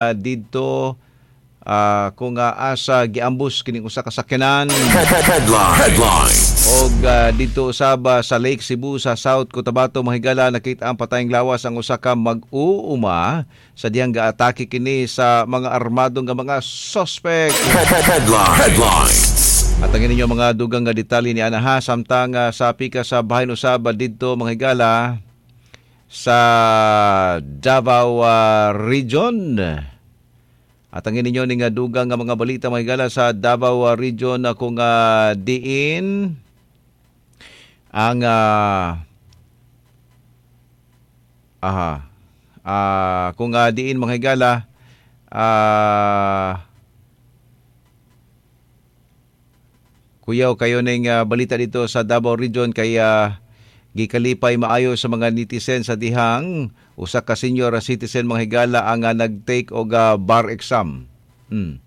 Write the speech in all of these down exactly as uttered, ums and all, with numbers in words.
Didto uh, kung uh, asa giambus kining usa ka sakyanan. Headline. Headlines. Og uh, didto usab sa Lake Cebu sa South Cotabato, mahigala, nakita ang patayng lawas ang usa ka mag-uuma sa dihang gaatake kini sa mga armadong nga mga suspect. Headline. Headlines. At ang inyo mga dugang nga detalye ni ana ha, samtang uh, sa pika sa bahin usab didto, mga higala, sa Davao uh, Region. At ang inyo ning dugang nga mga balita, mga higala, sa Davao uh, Region uh, kung uh, diin ang uh, aha uh, kung uh, diin, mga higala, uh, kuyaw kayo ning uh, balita dito sa Davao Region kay uh, gikalipay maayo sa mga netizen sa dihang usa ka senior citizen, mga higala, ang uh, nag-take og uh, bar exam. Hmm.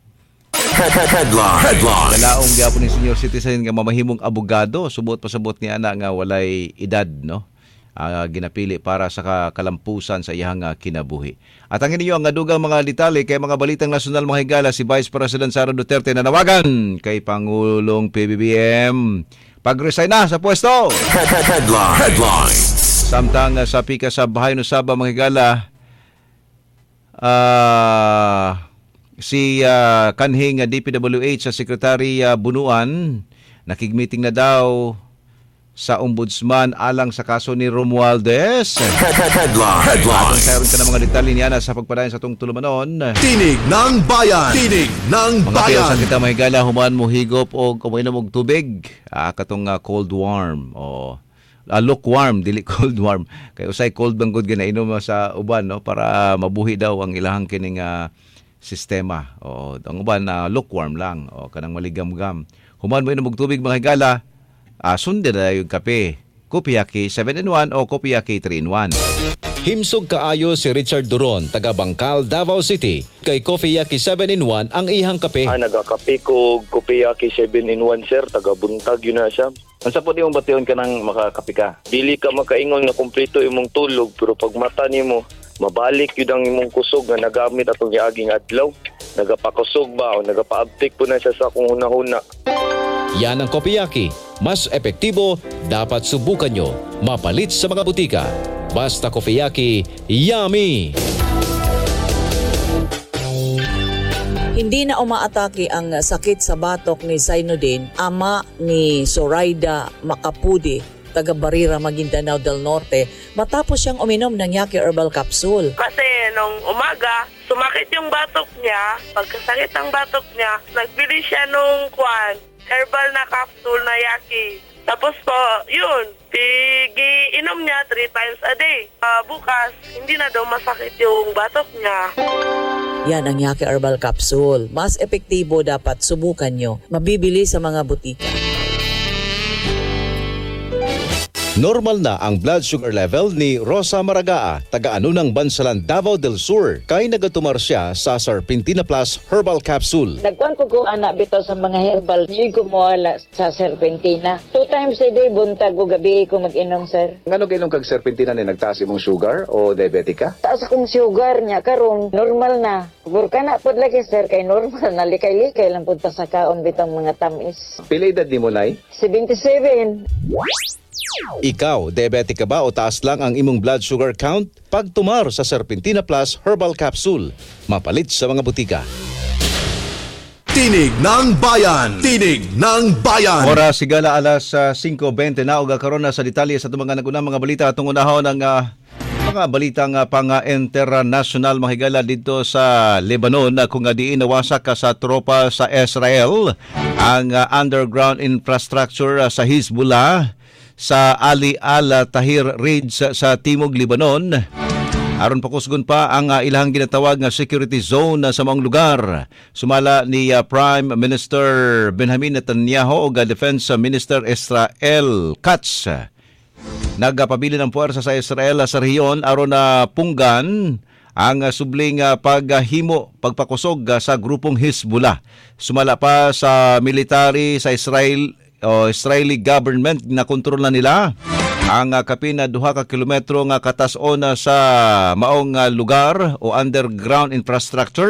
Headline. Headline. Kalaong gyapon ni senior citizen nga mamahimong abogado, subot pasabot ni ana nga walay edad, no? Uh, ginapili para sa kalampusan sa iyang uh, kinabuhi. At ang inyo ang dugang mga detalye kay mga balitang nasyonal, mga higala, si Vice President Sara Duterte nanawagan kay Pangulong P B B M pag-resign na sa pwesto. Headline. Headlines. Samtang uh, sa pika sa bahay no Saba, mga higala, uh, si uh, kanhing uh, D P W H sa Secretary uh, Bunuan nakig-meeting na daw sa Ombudsman alang sa kaso ni Romualdez. Headline. Headline. At karon ka ng mga detalye niya sa pagpadayon sa itong tulumanon. Tinig ng Bayan. Tinig ng mga Bayan. Mga sa kita, mga higala, human mo higop o kuminom og tubig. Ah, katong uh, cold warm o uh, lukewarm, dili cold warm. Kay usay cold bang gud ginainom sa uban, no, para mabuhi daw ang ilahang kining uh, sistema. O ang uban na uh, lukewarm lang o kanang maligam-gam. Human mo inom og tubig, mga higala, Uh, sundi na yung kape. Kopiyaki seven in one o Kopiyaki three in one. Himsog kaayo si Richard Duron, taga Bangkal, Davao City. Kay Kopiyaki seven in one ang ihang kape. Ah, nagakape ko Kopiyaki seven in one, sir. Taga Buntag yun na siya. Unsa po di mong bation ka nang makakape ka? Dili ka makaingon nga kumpleto imong tulog, pero pag mata nimo, mabalik yun ang imong kusog nga nagamit atong giaging adlaw. Nagapakusog ba o nagapaabtik po na siya sa akong hunahuna. Yan ang Kopiyaki. Mas epektibo, dapat subukan nyo. Mapalit sa mga butika. Basta Kopiyaki, yummy! Hindi na umaatake ang sakit sa batok ni Zainuddin, ama ni Zoraida Macapudi, taga Barira, Maguindanao del Norte, matapos siyang uminom ng Yaki Herbal Capsule. Kasi nung umaga, sumakit yung batok niya. Pagkasakit ang batok niya, nagbili siya nung kwan, herbal na capsule na Yaki. Tapos po, yun, pigi-inom niya three times a day. Uh, bukas, hindi na daw masakit yung batok niya. Yan ang Yaki Herbal Capsule. Mas epektibo, dapat subukan nyo. Mabibili sa mga butika. Normal na ang blood sugar level ni Rosa Maragaa, taga-anunang Bansalan, Davao del Sur. Kay nagatumar siya sa Serpentina Plus Herbal Capsule. Nagkuhan ko ko anak bitaw sa mga herbal, hindi ko mawala sa Serpentina. Two times a day, buntag o gabi ko mag-inom, sir. Ngano kainom kag Serpentina ni nagtaas imong sugar o diabetic ka? Taas akong sugar niya, karon normal na. Burka na pod lagi, sir, kay normal na. Likay-likay lang punta sa kaon bitang mga tamis. Pila edad ni mo, Nay? seventy-seven. Ikaw, diabetic ka ba o taas lang ang imong blood sugar count? Pagtumar sa Serpentina Plus Herbal Capsule. Mapalit sa mga butika. Tinig ng Bayan! Tinig ng Bayan! Oras sigala alas uh, singko beinte na og karon na sa detalye sa itong mga nagunang mga balita atong unahon ang uh, mga balitang uh, pang-international, mga higala, dito sa Lebanon uh, kung uh, diin nawasak ka sa tropa sa Israel ang uh, underground infrastructure uh, sa Hezbollah sa Ali Al-Tahir Ridge sa, sa Timog Lebanon. Aron pakusgon pa ang uh, ilang ginatawag nga security zone uh, sa maong lugar. Sumala ni uh, Prime Minister Benjamin Netanyahu ug uh, Defense Minister Israel Katz. Nagpabilin ang puwersa sa Israel uh, sa rehiyon aron na uh, punggan ang uh, subling uh, paghimo, pagpakusog uh, sa grupong Hezbollah. Sumala pa sa military sa Israel o Israeli government na kontrol na nila Ang uh, kapin na duha ka kilometro nga katas-on sa maong uh, lugar o underground infrastructure.